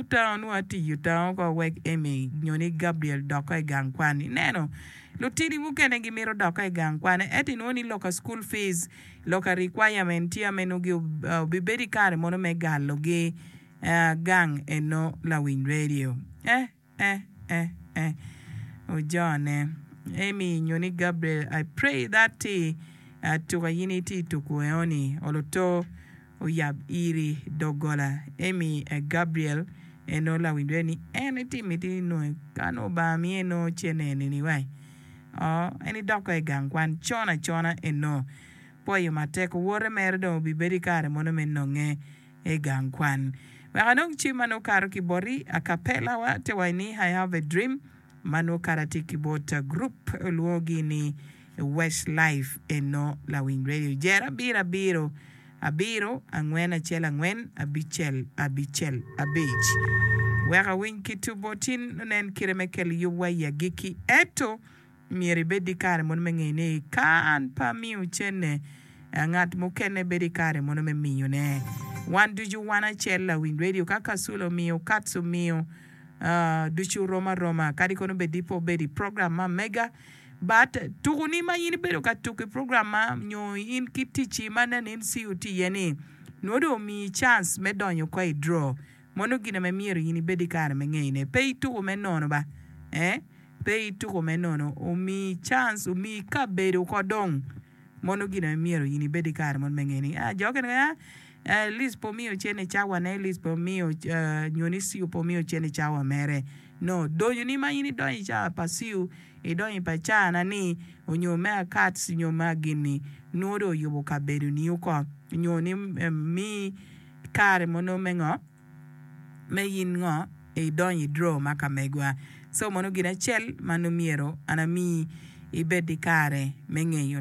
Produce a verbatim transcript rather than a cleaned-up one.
tango nongo atiyo tango ko wek Amy nyo ni Gabriel dok i gang kwan. Ineno lutini mukene gimito dok i gang kwan ento inwongo ni loka school fees loka requirement tye ame nongo obibedo i kare mono me galogi gang eno lawiny radio. Eh eh eh eh ojone Amy nyo ni Gabriel I pray that ti tuka in itye tuku eoni oloto oyab iri doggola Amy Gabriel eno lawiny radio ni en etye miti nongo ka nongo Obanga miye nongo cene eni wai en idok i gang kwan con acona eno pwoyo matek owote mere dong obibedo i kare mono me nonge i gang kwan wek anong cim ma nongo kato ki boti acapella wa te waci ni I have a dream ma nongo kato atye ki bot group olwongogi ni Westlife eno lawiny radio jer abiro abiro abiro angwen acel angwen abicel abicel abic wek awiny ki tubo tin onen kite me kelo yubwa i agikki ento myero ibed i kare mono me ngeyo ni ka an pe amiyo cene ngat mukene bedo i kare mono me miyone wan ducu wan acel lawiny radio ka Kasule omiyo Kats omiyo ducu rom aroma kadi kono bed ni pe obedo i program ma mega but tukuni ma in ibedo ka tuko i program ma nyo in ki ticci ma neno in CEO tye iye ni nongo dong omiyi chance me donyo ko i draw mono gin ame myero in ibed i kare me ngeyone pe ituko me nono ba eh pe ituko me nono omiyi chance omiyi kabedo ko dong mono gin ame myero in ibed i kare mono me ngeyo ni ah jo okene ah Liz pe omiyo cene i cawane Liz pe omiyo nyo ni CEO pe omiyo cene i cawa mere no donyoni ma in idonyo i cawa pa CEO idonyo pa cana ni onyo me akats nyo me agini nongo dong oyubo kabedoni oko nyo ni miyi kare mono me ngo me in ngo idonyo i draw ma ka megwa so mono gin acel ma nongo myero an amiyi ibed ki kare me ngeyo.